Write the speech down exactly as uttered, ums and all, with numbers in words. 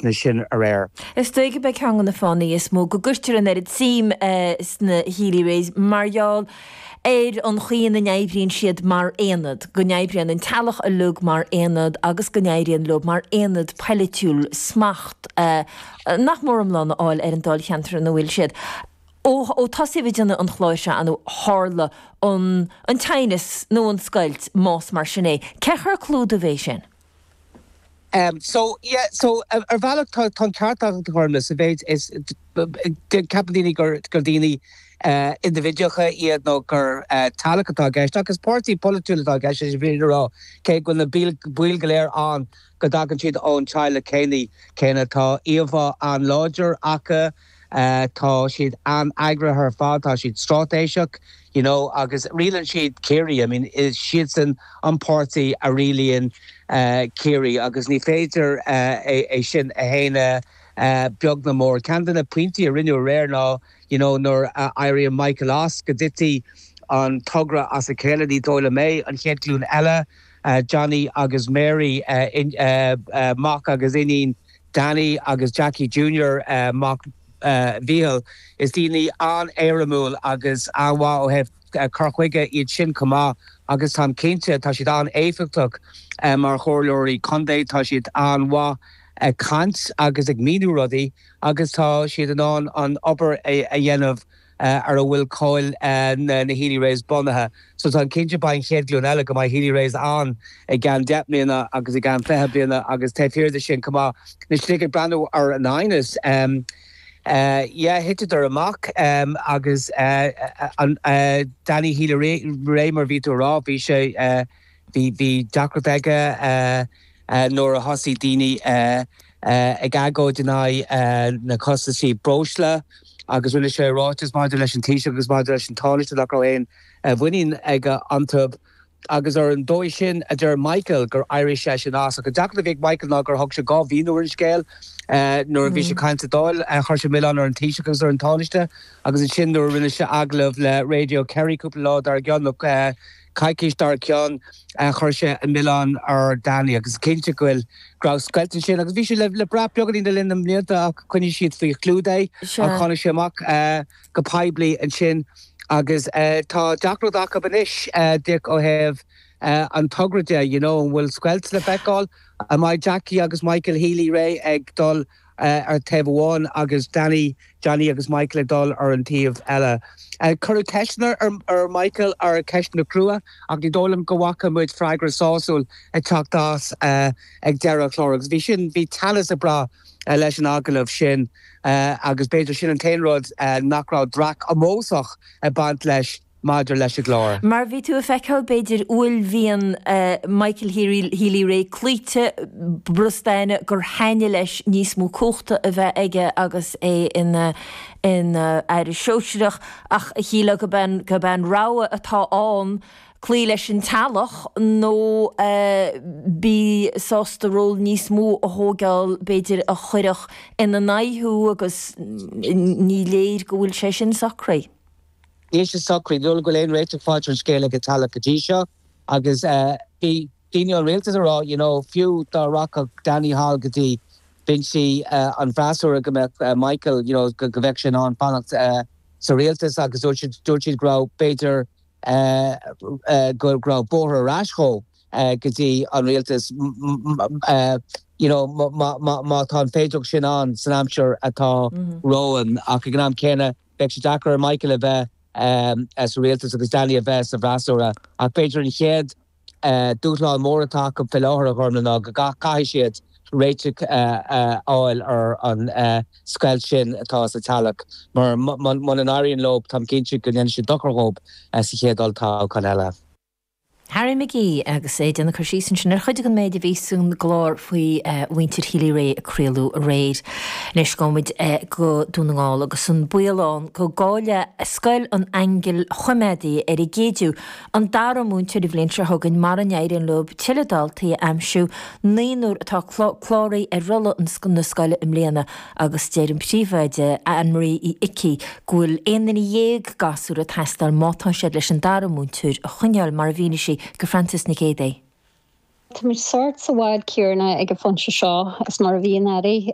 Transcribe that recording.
ceisteanna sin aréir. Is dóigh gurb é ceann de na fáthanna is mó go gcuirtear an oiread suim sna Healy-Raes mar gheall ar an chaoi ina n-oibríonn siad mar aonad, go n-oibríonn an teaghlach uilig mar aonad agus go n-éiríonn leo mar aonad polaitiúil smacht nach mór iomlán a fháil ar an dáilcheantar ina bhfuil siad. Ó tosaíodh ag déanamh an chláir seo nó tharla an an teannas nó an scoilt más mar sin é. Cé chomh clúdach é sin? Um, so yeah, so ar bhealach tá an ceart agat a Ghormfhlaith sa mhéid is ceapann daoine gur gur daoine uh, indibhidiúlacha iad nó gur uh, teaghlach atá i gceist agus páirtí polaitiúil atá i gceist is bhí rá cé go na baill go léir an go dtagann siad ón teaghlach céanna céanna tá íomhá an-láidir acu uh, tá siad an-eagraithe ar fad tá siad straitéiseach you know agus rialaíonn siad Ciarraí I mean is siadsan an páirtí a rialaíonn uh, Ciarraí agus ní féidir uh, é, é sin a shéanadh uh, beag ná mór. Ceann de na pointí a rinneadh aréir ná you know, nuair uh, éiríonn Michael as go dtitfidh an togra as a chéile ní dóigh liom é an chéad ghlúin eile uh, Johnny agus Mary uh, in, uh, uh, mac agus iníon Danny agus Jackie Junior uh, mac uh, Mhichíl is daoine an-éirimiúil agus an-mhaith ó thaobh uh, cur chuige iad sin chomh maith agus táim cinnte tá siad an-éifeachtach uh, mar chomhairleoirí contae tá siad an-mhaith ag caint agus ag míniú rudaí agus tá siad in ann an obair a, a dhéanamh uh, ar a bhfuil cáil uh, na, na Healy-Raes bunaithe. So tá cinnte beidh an chéad ghlúin eile go mbeidh Healy-Raes ann i gceann deich mbliana agus i gceann fiche bliana agus tá fíor sin chomh maith na slig ag breathnú ar an aighneas. Um, Uh, yeah, thiteadar amach um, agus uh, an uh, Danny Healy-Rae mar bhí tú rá bhí sé uh, bhí bhí deacracht aige uh, uh, nuair a thosaigh daoine uh, uh, ag agóid in aghaidh uh, na costaisí breosla agus rinne sé ráiteas maidir leis an Taoiseach agus maidir leis an Tánaiste nach raibh aon uh, mhuinín aige iontu agus ar an dóigh sin a deir Michael gur éirigh sé sin as go deacair bhí Michael ná gur thug sé dhá mhíniú ar an scéal uh, nuair a bhí sé ag caint sa Dáil uh, chuir sé milleán ar an Taoiseach agus ar an Tánaiste agus ansin nuair rinne sé agallamh le Radio Kerry cúpla lá dar gcionn uh, coicís dar gcionn uh, chuir sé an milleán ar Danny agus cinnte go bhfuil go raibh scoilt sin agus bhí sé le le brath beagáinín le linn na mblianta ach choinnigh siad faoi chlúdach é a tháinig sé amach uh, go poiblí ansin agus uh, tá deacracht acu anois uh, Dick ó thaobh uh, an togra de you know, an bhfuil scoilt le feiceáil an mbeidh Jackie agus Michael Healy-Rae ag dul uh, ar taobh amháin agus Danny Johnny agus Michael ag dul ar an taobh eile. Uh, Cuireadh ceisteanna ar, ar Michael ar ceisteanna crua ach ní dóigh liom go bhfaca muid freagra sásúil ag teacht as uh, ag deireadh chlár agus bhí sin bhí teannas ag brath uh, leis an agallamh sin uh, agus b'fhéidir sin an t-aon rud uh, nach raibh dreach ómósach ag baint leis maidir leis an gclár. Mar bhí tú ag feiceáil b'fhéidir uaillmhian uh, Michael Healy-Rae cloíte brustáine gur thaitnigh leis níos mó cumhachta a bheith aige agus é ina ina aire sóisearach ach a shíle go ben go ben rogha atá ann cloí leis an teaghlach nó uh, bí sásta ról níos mó a thógáil b'fhéidir a chuirfeadh ina n-aghaidh thú agus ní léir go bhfuil sé sin socraithe. Níl sé socraithe dul go léon réite fáid an scéal ag teaghlach go dtí seo agus uh, bhí daoine an rialtas a rá you know, fiú dá rachadh Danny thall go dtí binsí uh, an freasúra go mbeadh uh, Michael you know, go, go bheadh sin an fanacht uh, sa rialtas agus dúirt dúirt siad go raibh b'fhéidir uh, uh, go raibh bóthar ar ais dhó uh, go dtí an rialtas uh, you know, má tá an féidearthacht sin ann san aimsir atá mm -hmm. romhainn ach ag an am céanna beidh sé deacair ar Michael a bheith um, sa rialtas agus Danny a bheith sa bhfreasúra ach b'fhéidir an chéad uh, dúshlán mór atá acu faoi láthair a Ghormfhlaith ná go gcaithfidh siad réiteach uh, uh, fháil ar an uh, scoilt sin atá sa teaghlach mar muna n-éiríonn leo táim cinnte go ndéanfaidh sé dochar dóibh uh, sa chéad olltoghchán eile. Harry McGee agus é déanamh cur síos ansin ar chuid den méid a bhí san gclár faoi uh, mhuintir Healy-Rae a craoladh aréir. Anois gabhfaimid uh, go Dún na nGall agus an baol ann go gcaillfidh Scoil an Aingil Choimeádaigh ar an gCéidiú an dara múinteoir an bhliain seo chugainn mura n-éiríonn leo tuilleadh daltaí a aimsiú naonúr atá cláraithe ar rolla na scoile i mbliana agus deir an príomhoide Anne-Marie Uí Icí go bhfuil aon duine dhéag gasúr ag teastáil má tá siad leis an dara múinteoir a choinneáil mar a mhínigh sí go Francis Nic Géadaigh. Tá muid sort sa bhád céanna ag an phointe seo is mar a bhí anuraidh.